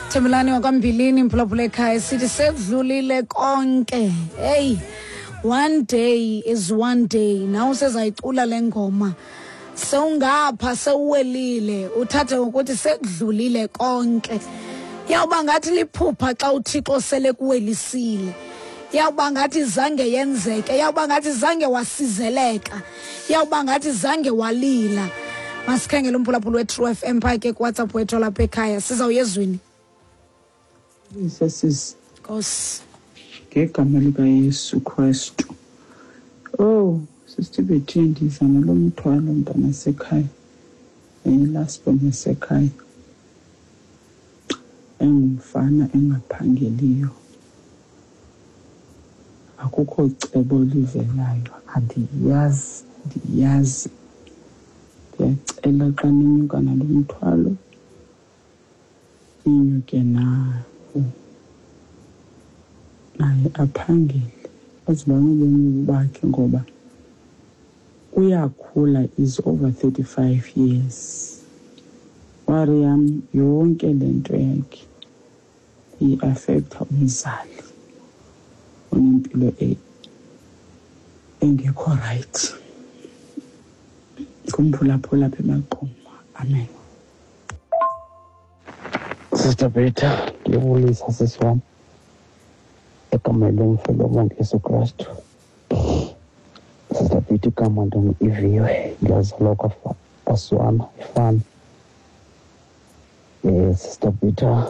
Thembelani wakwambilini mphulaphula ekhaya sithi sekudlulile konke. Hey, one day is one day. Nawe usezayicula le ngoma. Sewungapha sewuwelile uthathe ngokuthi sekudlulile konke. Yawuba ngathi liphupha xa uThixo sele kuwelisile. Yawuba ngathi zange yenzeke, yawuba ngathi zange wasizeleka. Yawuba ngathi zange walila. Masikhangele umphulaphuli we-True FM phaa ke kuWhatsApp wethu olapha ekhaya. Sizawuya ezwini. Sisi. Nkosi. Ngegama likaYesu Kristu. Oh, Sister Betty, ndiza nalo mthwalo mntana sekhaya. Last born yasekhaya. Engumfana engaphangeliyo. Akukho cebo livelayo. Andiyazi, andiyazi. Ndiyacela xa ninyuka nalo mthwalo, ninyuke nawo. Naye aphangele, azoba nobomi bakhe ngoba uyakhula, is over 35 years. Worry yam yonke le nto yakhe i-affecta umzali onempilo engekho right. Ngumphulaphula apha eMaqoma. Amen. Sister Peter, ndiyabulisa sisi wam egameni lomfelo wonke Yesu Kristu. Sister Peter, igama ndingu-Iviwe, ndiyazalwa kwaSwana ifama. Sister Peter,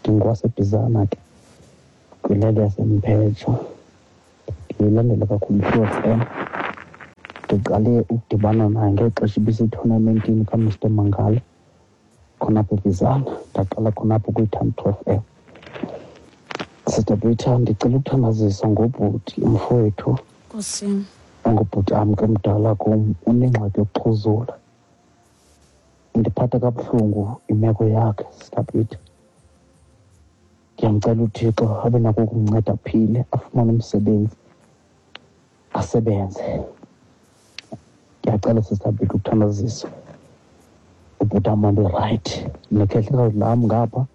ndingowasebhizana ke kwilali yaseMphetsho. Ndiyilandela kakhulu i-True FM. Ndiqale ukudibana naye ngexesha ibisetournamentini kaMr Mangala khonapha eBizana. Ndaqala khonapho ukuyithanda i-True FM. Sister Peter, ndicela ukuthandazisa ngobhuti umfowethu. Nkosi. Ongubhuti am ke mdala kum, unengxaki yokuxhuzula. Indiphatha kabuhlungu imeko yakhe, Sister Peter. Ndiyamcela uThixo abe nako ukumnceda aphile, afumane umsebenzi, asebenze. Ndiyacela Sister Peter ukuthandazisa ubhuti am abe rayithi. Nekhehlekazi lam ngapha,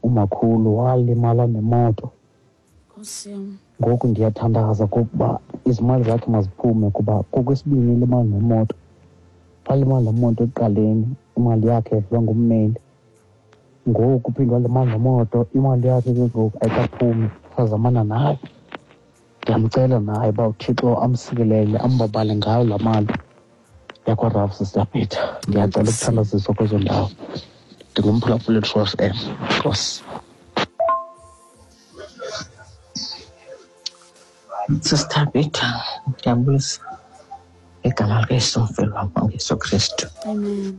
umakhulu walimala nemoto. Ngoku ndiyathandaza kokuba izimali zakhe maziphume, kuba kokwesibini ilimala nemoto. Walimala nemoto ekuqaleni, imali yakhe yadliwa ngummeli. Ngoku uphinde walimala nemoto, imali yakhe ke ngoku ayikaphumi, sazamana naye. Ndiyamcela naye uba uThixo amsikelele, ambabale ngayo laa mali yakwaRalph, Sister Peter. Ndiyacela ukuthandaziswa kwezo ndawo. Ndingumphulaphuli True FM. Nkosi. Sister Peter, ndiyabulisa igama likaYesu umfeli wam onguYesu Kristu. Amen.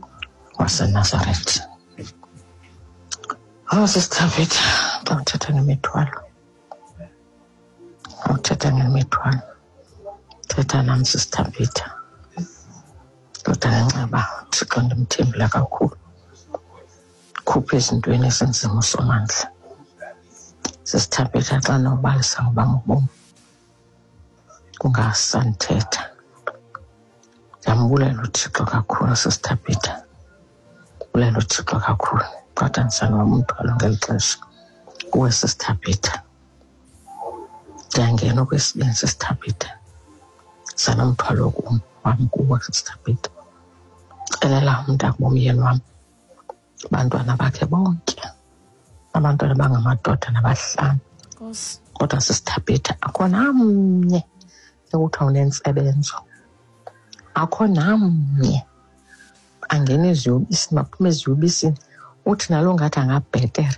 waseNazaretha. Oh, Sister Peter, xa uthetha ngemithwalo, xa uthetha ngemithwalo, thetha nam Sister Peter. Kodwa ngenxeba uThixo ndimthembile kakhulu. Khupha ezintweni ezinzima uSomandla. Sister Peter, xa nobalisa ngobam ubomi kungasandithetha. Ndiyambulela uThixo kakhulu, Sister Peter. Bulela uThixo kakhulu. Kodwa ndisana umthwalo ngeli xesha kuwe, Sister Peter. Ndiyangena okwesibini, Sister Peter. Sanomthwalo kum wam kuwe, Sister Peter. Celela umntakubomyeni wam, abantwana bakhe bonke, abantwana bangamadoda nabahlanu. Kodwa Sister Peter, akho namnye ekuthiwa unentsebenzo, akho namnye angena eziyobisini, baphume eziyobisini. Uthi nalo ngathi angabhetere,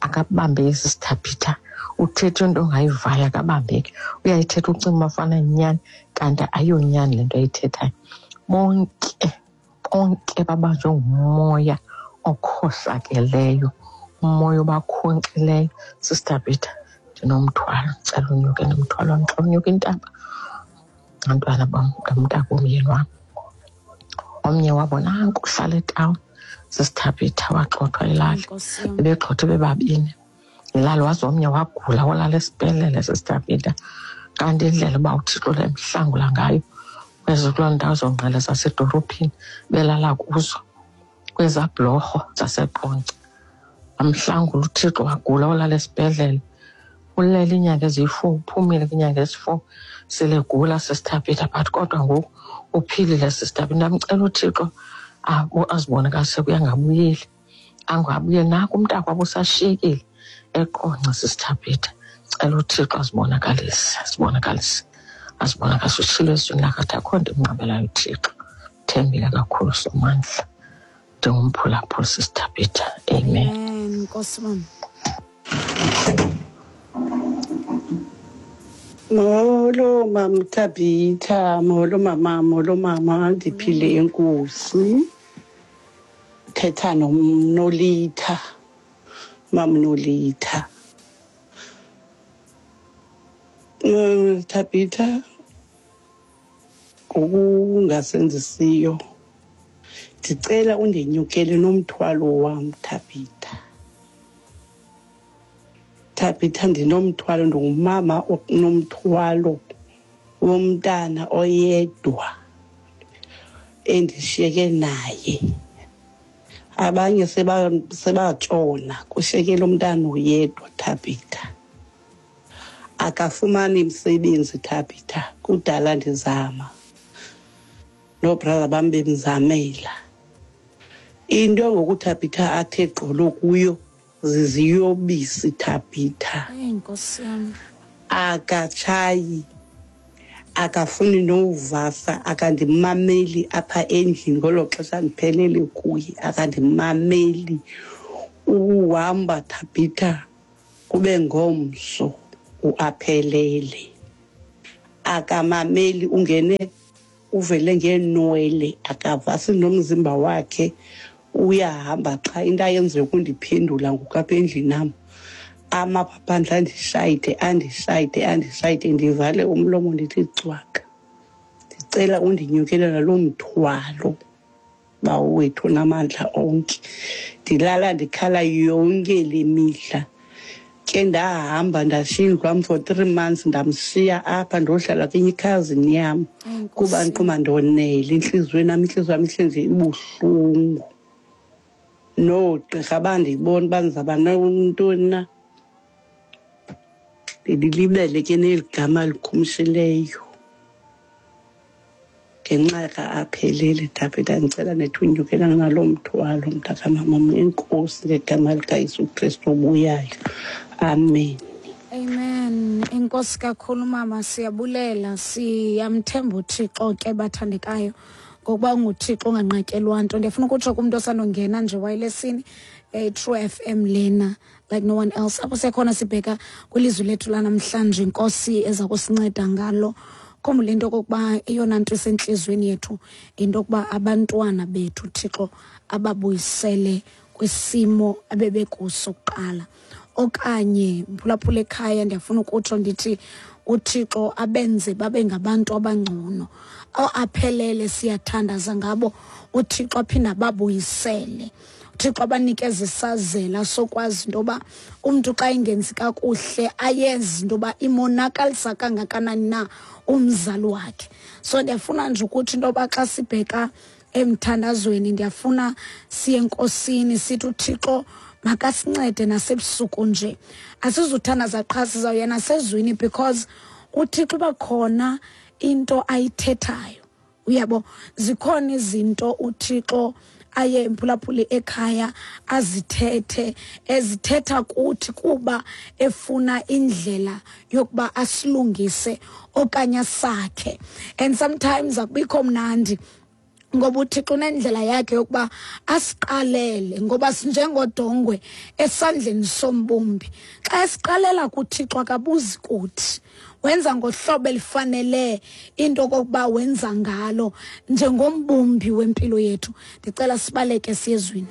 akabambeki Sister Peter. Uthethe into ongayivayo, akabambeki. Uyayithetha ucinga uba fana yinyani, kanti ayiyonyani le nto ayithethayo. Bonke, bonke babanjwe ngumoya okhohlakeleyo, umoya obakhonkxileyo. Sister Peter, ndinomthwalo, ndicela unyuke nomthwalo wam. Xa unyuka intaba, abantwana bam, nomntakomyeni wam, omnye wabo nanku uhlala etawuni. Sister Peter, waxothwa ilali, bebegxothwe bebabini ilali, waze omnye wagula walala esibhedlele, Sister Peter. Kanti indlela uba uThixo lemhlangula ngayo kwezi kuloo ndawo zongqele zasedorophini belala kuzo, kwezaa bhlorho zaseQonce. Wamhlangula uThixo, wagula, walala esibhedlele. Ulele iinyanga eziyi-4, uphumile kwiinyanga ezi-4 sele gula, Sisithabitha, but kodwa ngoku uphilile, Sisithabitha. Ndamcela uThixo azibonakalise kuye, angabuyeli, angabuyeli. Naku umntakwabo usashiyekile eQonce, Sisithabitha. Cela uThixo azibonakalise, azibonakalise, azibonakalise. Utshilo ezwini lakhe athi akho nto imnqabelayo uThixo. Thembile kakhulu Somandla. Ndingumphulaphuli, Sisithabitha. Amen. Amen. Nkosi mama. Molo mama Thabitha, molo mama, molo mama, ndiphile enkosi. Thetha noMnolitha, mamNolitha. Thabitha, ngokungasenzisiyo ndicela undinyukele nomthwalo wam, Thabitha. Thabitha, ndinomthwalo, ndingumama onomthwalo womntana oyedwa endishiyeke naye. Abanye sebatshona, kushiyeke lo mntana oyedwa, Thabitha. Akafumani msebenzi, Thabitha, kudala ndizama, noobrother bam bemzamela. Into ngoku, Thabitha, athe gqolo kuyo ziziyobisi, Thabitha. Eyi Nkosi yam. Akatshayi, akafuni nowuvasa, akandimameli apha endlini ngolo xesha ndiphelele kuye, akandimameli. Uhamba, Thabitha, kube ngomso uaphelele. Akamameli, ungene uvele ngeenwele, akavasi nomzimba wakhe, uyahamba qha. Into ayenziyo kundiphendula ngoku apha endlini nam. Amapha phandle andishayide, andishayide, andishayide, ndivale umlomo ndithi cwaka. Ndicela undinyukele naloo mthwalo, Bawo wethu onamandla onke. Ndilala ndikhala yonke le mihla. Ke ndahamba ndashiya indlu yam for 3 months, ndamshiya apha ndohlala kwenye ikhazini yam kuba ndiquma ndonele entliziyweni yam, intliziyo yam ihleli nje ibuhlungu. Noogqirha bandibona uba ndizawuba nantoni na. Ndililibele ke neli gama likhumshileyo ngenxa ka-Aphelele. Thabitha, ndicela nethi unyukela naloo mthwalo, mntakamama. Enkosi ngegama likaYesu Kristu obuyayo. Amen. Amen. Enkosi kakhulu mama, siyabulela, siyamthemba uThixo ke bathandekayo, ngokuba unguThixo onganqatyelwa nto. Ndiyafuna ukutsho kumntu osandongena nje wayelesini, True FM lena, like no one else. Apho siyakhona sibheka kwilizwi lethu lanamhlanje, Inkosi eza kusinceda ngalo. Khumbula into okokuba eyona nto isentliziyweni yethu into yokuba abantwana bethu Thixo ababuyisele kwisimo abebekuso kuqala. Okanye mphulaphula ekhaya, ndiyafuna ukutsho ndithi uThixo abenze babe ngabantu abangcono. Aphelele siyathandaza ngabo, uThixo aphinde ababuyisele. uThixo abanikeze isazela sokwazi into yoba umntu xa engenzi kakuhle ayezi into yoba imonakalisa kangakanani na umzali wakhe. So ndiyafuna nje ukuthi into yoba xa sibheka emthandazweni, ndiyafuna siye enkosini sithi uThixo makasincede nasebusuku nje. Asizuthandaza qha, sizawuya nasezwini, because uThixo uba khona into ayithethayo. Uyabo, zikhona izinto uThixo aye emphulaphuli ekhaya azithethe, ezithetha kuthi kuba efuna indlela yokuba asilungise okanye asakhe. And sometimes akubikho mnandi ngoba uThixo unendlela yakhe yokuba asiqalele, ngoba sinjengodongwe esandleni sombumbi. Xa esiqalela kuThixo akabuzi kuthi, wenza ngohlobo elifanele into okokuba wenza ngalo njengombumbi wempilo yethu. Ndicela sibaleke siyezwini.